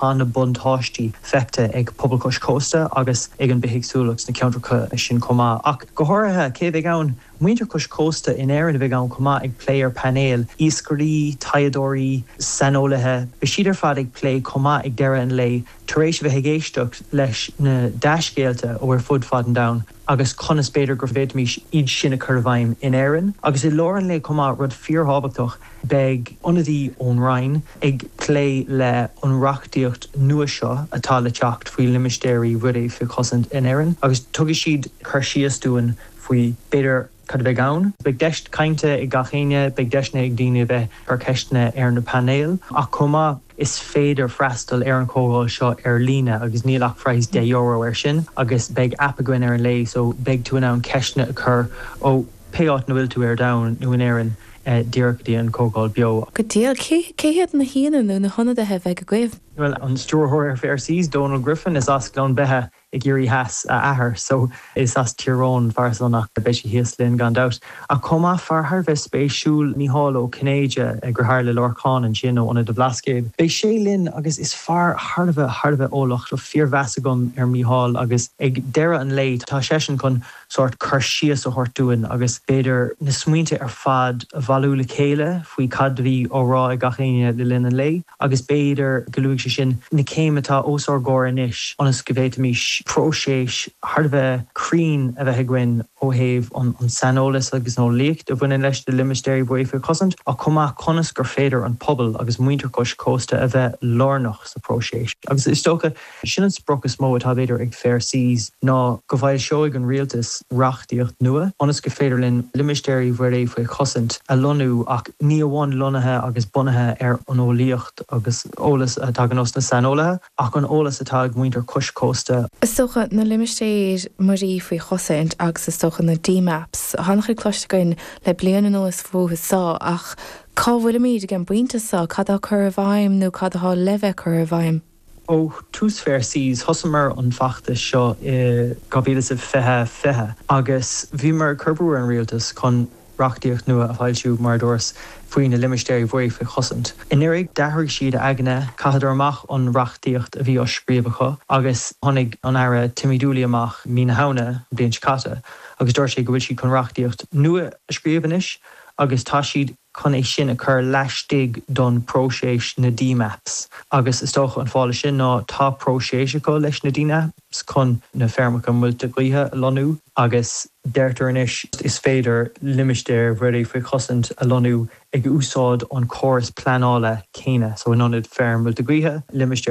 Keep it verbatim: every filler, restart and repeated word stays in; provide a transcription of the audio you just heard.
Tá na buntáistí feicthe ag pobal cois cósta agus ag an bithéagsúlacht sna ceantracha sin chomh maith. Ach go háirithe cé bheidh ann muintir cois cósta in Éirinn a bheidh ann chomh maith ag plé ar painéal, iascairí, taighdeoirí, saineolaithe, beidh siad ar fad ag plé chomh maith ag deireadh an lae tar éis a bheith ag éisteacht leis na dea-scéalta ó ar fud fad an domhain agus conas b'fhéidir go bhféadfaimis iad sin a chur i bhfeidhm in Éirinn. Agus i lár an lae chomh maith rud fíorthábhachtach beidh ionadaí ón Roinn ag plé le an reachtaíocht nua seo atá le teacht faoi limistéirí mhuirí faoi chosaint in Éirinn agus tugann siad cur síos dúinn faoi b'fhéidir cad a bheidh ann. Beidh deis cainte ag gach éinne, beidh deiseanna ag daoine bheith ag cur ceisteanna ar na painéil ach chomh maith is féidir freastal ar an chomhdháil seo ar líne agus níl ach praghas deich euro air sin agus beidh app againn ar an lá so beidh tú in ann ceisteanna a chur ó pé áit a bhfuil tú ar domhan nó in Éirinn eh, díreach go dtí an chomhdháil beo. Go diail cé hiad na haíonna nó na hionadaithe a bheidh agaibh? Well an stiúrthóir ar Fair Seas Donal Griffin is as Gleann Beithe i gCiarraí Theas a athair, so is as Tír Eoghain fear ach beidh sé thíos linn gan dabht. Ach chomh maith fear thar bheith spéisiúil Mícheál Ó Cinnéide deartháir le Lorcán ansin ó Ionad an Bhlascaoid. Beidh sé linn agus is fear thar a bheith thar a bheith eolach tá fíormheas agam ar Mícheál agus ag deireadh an lae tá seisean chun sórt cur síos a thabhairt dúinn agus b'fhéidir na smaointe ar fad a bhailiú le chéile faoi cad a bhí á rá ag gach éinne le linn an lae agus b'fhéidir go luaigh sé sin na céimeanna atá os ár gcomhair anois ionas go bhféadfaimis próiseas thar a bheith cruinn a bheith againn ó thaobh an, an saineolas agus an eolaíocht a bhaineann leis na limistéirí mhuirí faoi chosaint ach chomh maith conas gur féidir an pobal agus muintir cois cósta a bheith lárnach sa próiseas. Agus is dócha sin an sprioc is mó atá b'fhéidir ag Fair Seas ná go bhfoilseoidh an rialtas reachtaíocht nua ionas go féidir linn limistéirí mhuirí faoi chosaint a lonnú ach ní amháin lonnaithe agus bunaithe ar an eolaíocht agus eolas atá ag na saineolaithe ach an eolas atá ag muintir cois cósta. Is dócha na limistéir mhuirí faoi chosaint agus is dócha na D-maps. Tá cloiste againn le bliain anuas fúthu seo ach cá bhfuilimid ag an bpointe seo cad á chur i bhfeidhm nó cad atá le bheith curtha i bhfeidhm. Ó tús Fair Seas thosaíomar an feachtas seo i dhá mhíle is fiche fiche agus bhíomar ag cur brú ar an rialtas chun reachtaíocht nua a fhoilsiú mar dúras faoi na limistéirí mhuirí faoi chosaint. Anuraidh d'athraigh siad aigne chaitheadar amach an reachtaíocht a bhí á scríobh acu agus tháinig an Aire Timmy Dooley amach mí na Samhna bliain seo caite agus dúirt sé go bhfuil siad chun reachtaíocht nua a scríobh anois agus tá siad chun é sin a chur laistigh don próiseas na D-maps. Agus is dócha an fáth sin ná tá próiseas acu leis na D-maps chun na feirmeacha muilte gaoithe a lonnú agus deirtear anois is féidir limistéir mhuirí faoi chosaint a lonnú ag úsáid an córas pleanála céanna, so in ionad feirm muilte gaoithe, limistéir